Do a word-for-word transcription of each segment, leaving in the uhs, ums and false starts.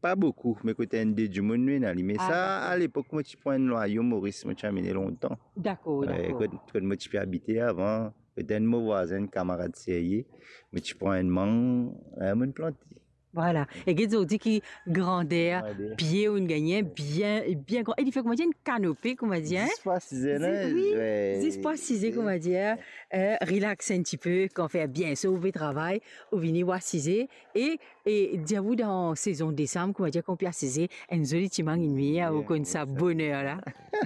pa boukou, me kot enn de dimoun nou ena li. Me sa, dakor, alepok mo ti pran enn lwayo Moris, mo ti amene lontan. Dakor, eh, dakor. Kot, kot mo ti pe abite avan, kot enn mo vwazin, kamarad serye, mo ti pran enn mang, eh, mo'nn plante. Vwala. E get zordi ki grander pie ou'nn gagne, bien, bien gran. E li fer, kouma dir, enn kanope, kouma dir, zis pou asize, wi, zis pou asize, kouma dir, eh, relax enn tipe, kan fer bien so, ou pe travay, ou vini, ou asize, e, e dir ou dan sezon desam, kouma dir, kan ou pe asize, enn zoli ti mang inn vini, ou konn sa boner la.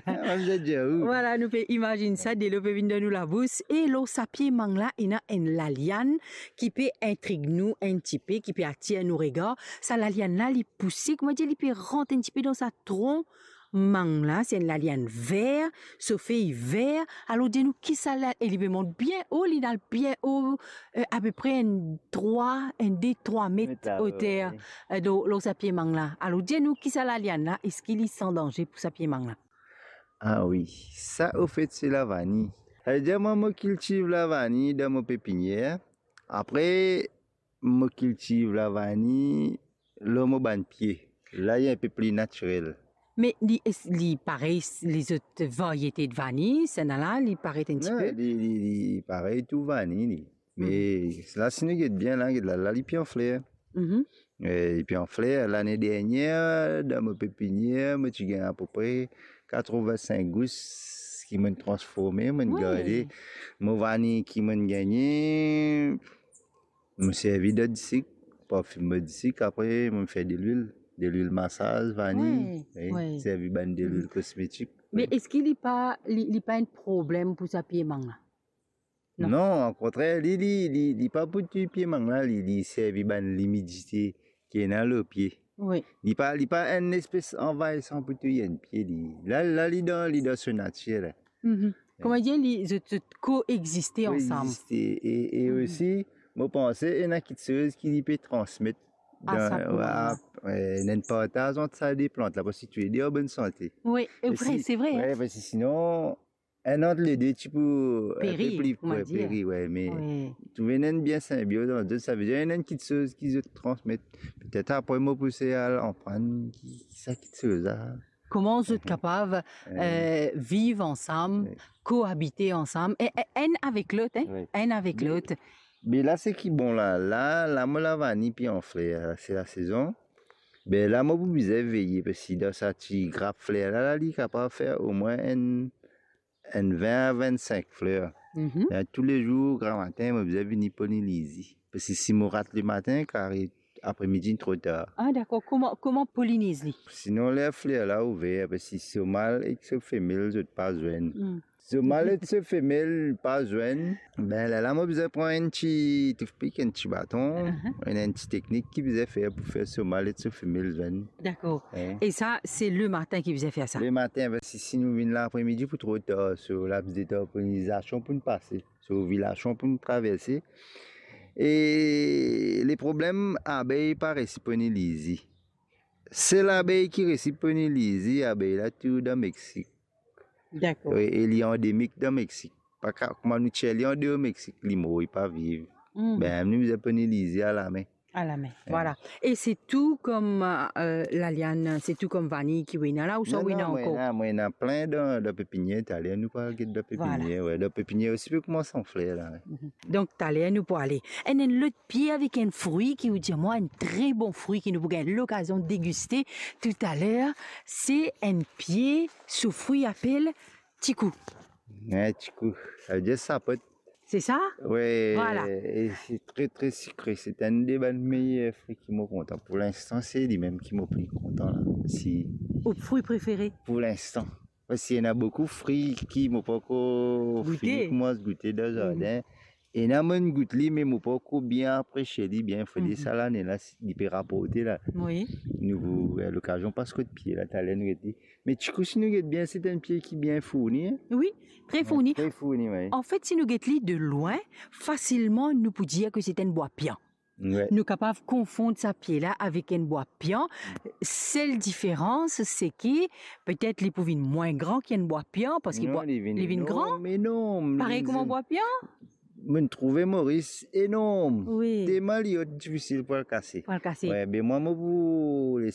Vwala, nou pe imazinn sa, delo pe vinn dan nou labous. E lor sa pie mang la, ena enn laliann ki pe intrig nou enn tipe, ki pe atir nou regar. Sa laliann la, li pouse, kouma dir, li pe rant enn tipe dan sa tron mang la. Se enn laliann ver, so fey ver. Alor, dir nou ki sa la, e li pe mont bien o, li al bien o, eh, apepre enn trwa, enn de, trwa met oter, eh, lor, lor sa pie mang la. Alor, dir nou ki sa laliann la, eski li san danze pou sa pie mang la? Ah wi, sa, ofet, se lavani. Savedir, mwa, mo kiltiv lavani dan mo pepinier. Apre, mo kiltiv lavani lor mo bann pie. La, li enpe pli natirel. Me li, es-, li parey lezot variete de vani, sa ena la, li parey enn tipe? Non, li, li, li parey tou vani, li. Me la, si nou get bien la, get la, la, li pe an fler. Mhm. Eh, li pe an fler. Lane dernier, dan mo pepinier, mo ti gagn apepre katrovin-sink gous ki mo'nn transforme, mo'nn garde. Mo vani ki mo'nn gagne, mo servi dan disik, parfim mo disik, apre mo fer delwil, delwil masaz, vani, wi, servi bann delwil kosmetik. Me eski li pa, li, li pa enn problem pou sa pie mang la? Non. Non, okontrer, li, li, li, li pa pou touy pie mang la, li, li servi bann limidite ki ena lor pie. Wi. Li pa, li pa enn espes anvayisan pou touy enn pie, li. La, la, li dan, li dan so natir la. Mhm. Kouma dir, li, zot, zot koexiste ansam. Koexiste. E, e osi, mo panse, ena kiksoz ki li pe transmet dan, a sa, wi, enn partaz ant sa de plant la, parski touledes an bonn sante. Wi, e vre, se vre, wi, parski sinon, enn ant lede ti pou peri, enn pe pli, kouma dir, peri, wi, me trouve enn bien sinbioz ant zot, savedir ena enn kiksoz ki zot transmet. Petet apre mo pou sey al aprann ki, ki sa kiksoz la. Kouma zot kapav, eh, viv ansam, koabite ansam, e, e, enn avek lot, hein, enn avek lot. Me la, seki bon la, la, la, mo lavani pe an fler, se lasezon. Be la, mo pou bizin veye, parski dan sa ti grap fler la, la, li kapav fer omwin enn enn vin a vinn-sink fler. Mhm. E toulezour, gramatin, mo bizin vini poliniz li. Parski si mo rat lematin, kare apremidi tro tar. Ah, dakor. Kouma, kouma poliniz li? Sinon, ler fler la ouver, parski so mal ek so femel, zot pa zwenn. Mm. So mal ek so femel pa zwenn, be, lerla mo bizin pran enn ti toutpik, enn ti baton, enn, enn ti teknik ki bizin fer pou fer so mal ek so femel zwenn. Dakor. Hein? E sa, se lematin ki bizin fer sa? Lematin, parski si nou vinn lapremidi pou tro tar, so labis de tar polinizasion pou nou pase, so ovilasion pou nou traverse. E le problem, abey pa resi poliniz li. Sel abey ki resi poliniz li, abey la tou dan Meksik. Dakor. E, e li andemik dan Meksik. Pa ka, kouma nou tir li andeor Meksik, li mor, li pa viv. Mhm. Be, nou bizin poliniz li alame. Alame, vwala. E se tou kom, eh, laliann, se tou kom vani ki ou ena la, ouswa ou ena ankor? Non, non, mo ena, mo ena plin dan, dan pepinier, taler nou pou al get dan pepinier, wi. Dan pepinier osi pe koumans an fler la, wi. Mhm. Donk, taler nou pou ale. Enn, enn lot pie avek enn frui ki ou dir mwa enn tre bon frui ki nou pou gagn lokazion degiste toutaler, se enn pie, so frui apel tikou. Wi, tikou. Savedir sapot. Se sa? Wi, vwala. E se tre, tre sikre. Se enn de bann meyer frui ki mo kontan. Pou linstan, se limem ki mo pli kontan la. Si. Ou frui prefere? Pou linstan. Parski ena boukou frui ki mo pankor fini koumans goute dan zardin. Mhm. Ena mo'nn gout li, me mo pankor bien apresie li bien. Fode sa lane la, si li pe raporte la. Wi. Nou pou, eh, lokazion pas kot pie la, taler nou get li. Me tikou, si nou get bien, se enn pie ki bien fourni, hein? Wi, tre fourni. Wi, tre fourni, wi. Anfet, si nou get li de lwin, fasilman, nou pou dir ke se enn bwa pian. Wi. Nou kapav konfond sa pie la avek enn bwa pian. Sel diferans, se ki petet li pou vinn mwin gran ki enn bwa pian, parski li vinn gran. Non, li vinn enorm, enorm. Parey kouma bwa pian? Mo'nn trouve Moris enorm. Wi. Telman li ot, difisil pou al kase. Pou al kase. Wi, be mwa, mo pou les